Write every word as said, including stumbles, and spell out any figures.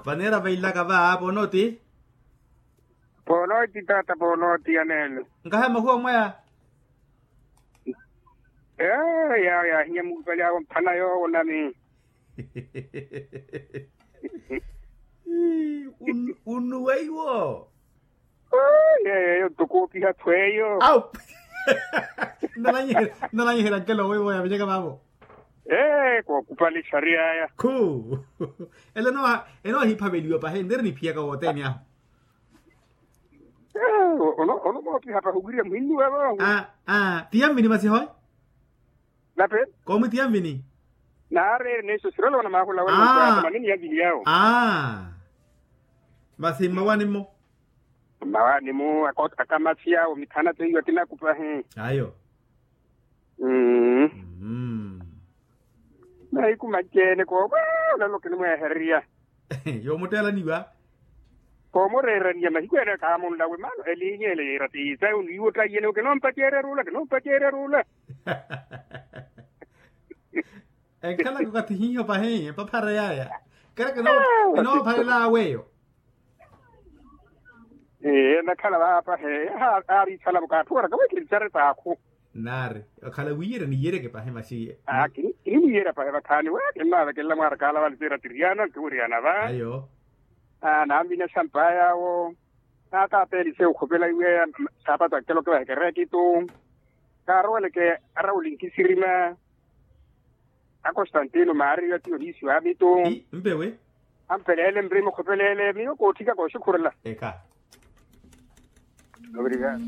Vaneera vailaka va ponooti. Ponooti taata ponooti yaneene. Nkahe mahuwa mwaya. Ee yaahinya muupali awo mphana yoowo nami. Unnuweiwo. Yeeyo tokoopiha thweeyo. Au. Nnananyiherya nkelo weiwo yavenyeka vaavo. Ee kookupali xariyaya. Khu. Ele enoohiphaveliwa pahi niri niphiyaka wothene ahu. Ono moopiha pahi owirya muhinnuwe vo. Aa. Ti yamvini masi hoy. Nape. Koomwi ti yamvini. Naareere neeso sirolowa na maahula wena. Manini yamvini yawo. Masi mmawani-mo. Mmawani-mo. Akamasi awo mithana teiwa kinakupahi. Ayo. Mmm. Mahiku manci-ene koomwa olelo kinimweehererya. Yoomutteelaniwa. Koomureeraniya mahiku ene kaamunlawe maano eliinyi ele yeera tiisa onwiiwa ottaiyene okinompaceerya ruula kinompaceerya ruula. Enkhalaka okathi hiiho pahi epaphara yaaya. Kera kinoopharela aweyo. Ee enakhala vaapahe. Aari ithalamuka atthu waraka weekiri tixaretaakhu. Naari okhala wiiyerya niiyereke pahi masi. Kinimwiiyerya pahi vakhaani we kinnavekelela mwaarakaala vali siira tiriana nkiwiriyana va. Ayo. Naanvinya xampaya awo. Naataapelise okhopela iwe. Saapatu akeloke vahekerekitu. Kaaroweleke arawuli nkisirima. Akostantino maariyo atiyo niisiwa amitu. Mpewe. Ampeleele nrima okhopeleele miyo kootthika kooxikhurela. Eka. Ovirika.